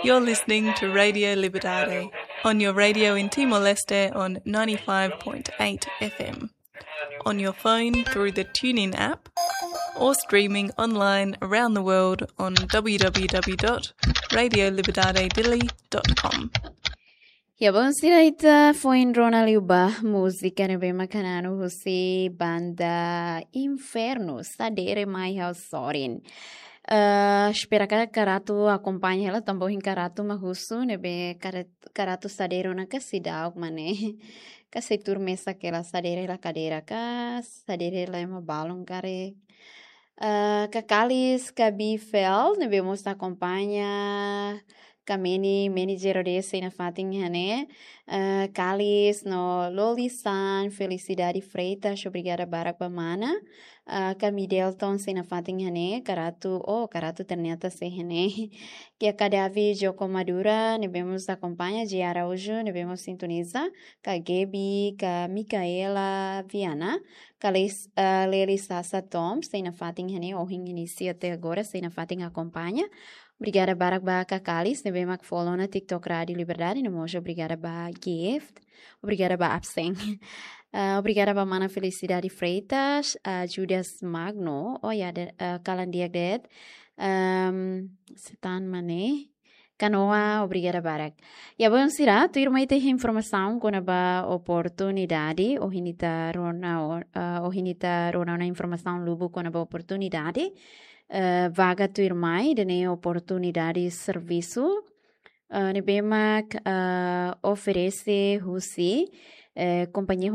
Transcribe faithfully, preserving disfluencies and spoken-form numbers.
You're listening to Radio Liberdade on your radio in Timor-Leste on ninety-five point eight F M, on your phone through the TuneIn app, or streaming online around the world on w w w dot radio liberdade dili dot com. Ya, bon, sira ita foin rona liu ba múzika ne'ebé mak hananu husi banda Inferno, Sadere Mai Ha'u Sorin. Eh, espera katak karatu akompaña hela, tanba ohin karatu mak husu, ne'ebé karat-, karatu sadere ona ka seidauk mak ne'e. Ka sei tuur mesak hela, sadere hela kadeira ka, sadere hela ema balun karik. Eh, Kakalis, Kabi Fel, ne'ebé mós akompaña, Kameni, Meni Jero de sei nafatin iha ne'e. Eh, Kalis no Loli San, Felicidade Freitas, obrigada barak ba mana. Eh, Kami Delton sei nafatin iha ne'e, karatu, oh, karatu ternyata sei iha ne'e. Kia Kadavi Joko Madura, ne'ebé mós akompaña, G. Araújo, ne'ebé mós sintoniza, ka Gaby, ka Micaela Viana, ka Lis-, eh, Leli Sasa Tom, sei nafatin iha ne'e, ohin inísiu até agora, sei nafatin akompaña. Obrigada barak ba Kakalis, ne'ebé mak follow ona TikTok Rádio Liberdade, no mós obrigada ba Gift, obrigada ba Absen. Eh, obrigada ba mana Felicidade Freitas, eh, Judas Magno, oh ya, de, eh, kalan di'ak de'it, ehm, setan mane, Kanoa, obrigada barak. Ya, bon, sira, tuirmai ita iha informasaun kona-ba oportunidade, ohin ita rona o-, eh, ohin ita rona ona informasaun lubuk kona-ba oportunidade. Eh, vaga tuirmai, ida-ne'e oportunidade servisu, eh, ne'ebé mak, eh, oferese husi, eh, kompañia